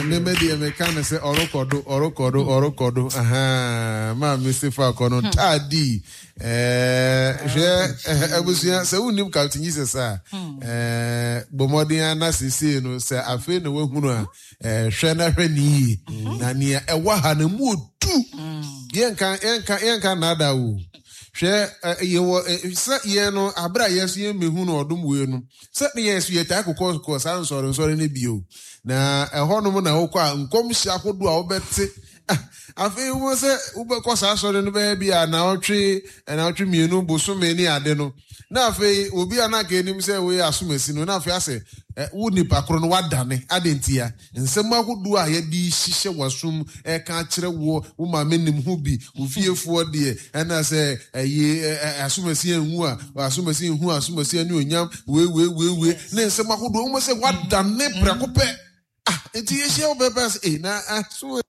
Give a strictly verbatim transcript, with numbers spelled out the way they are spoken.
Meme deɛ meka no sɛ ɔrekɔdo ɔrekɔdo ɔrekɔdo ahaa maame sefa akɔ no taadi. Hwɛ, abusua, sɛ wonnim Captain Jesus a, bɔ mmɔden ara na seesei no sɛ afei na woahunu a, hwɛ na hwɛ ne yie. Na nea ɛwɔ ha no mu odu. Yɛnka yɛnka yɛnka nnaada o. Hwɛ, yɛwɔ sɛ yɛn no abere a yɛn so yɛn mehu no ɔdom wei no, sɛ ne yɛn so yɛtaa kokɔ kɔ saa nsɔre nsɔre no bio. Na ɛhɔnom na wokɔ a nkɔmhyɛ ahodoɔ a wobɛte. Afei wobɛhu sɛ wobɛkɔ saa asɔre no bɛyɛ bi a naawɔtwe naawɔtwe mmienu bosome ne ade no, na afei obi a na anka anim sɛ woyɛ asomasi no, na afei asɛ wo nipa koro no wadane. Adɛn ntia? Nsɛm ahodoɔ a yɛde hyehyɛ w'asom ɛka akyerɛ woɔ, wo maame nim ho bi, wo fiefoɔ deɛ, ɛna sɛ ɛyi asomasi anwu a, asomasi nhu asomasi anuonyam, wei wei wei wei, ne nsɛm ahodoɔ, wobɛhu sɛ wadane prɛko pɛ. Ah, nti yɛhyia wo pɛpɛ sɛ, eh, na aso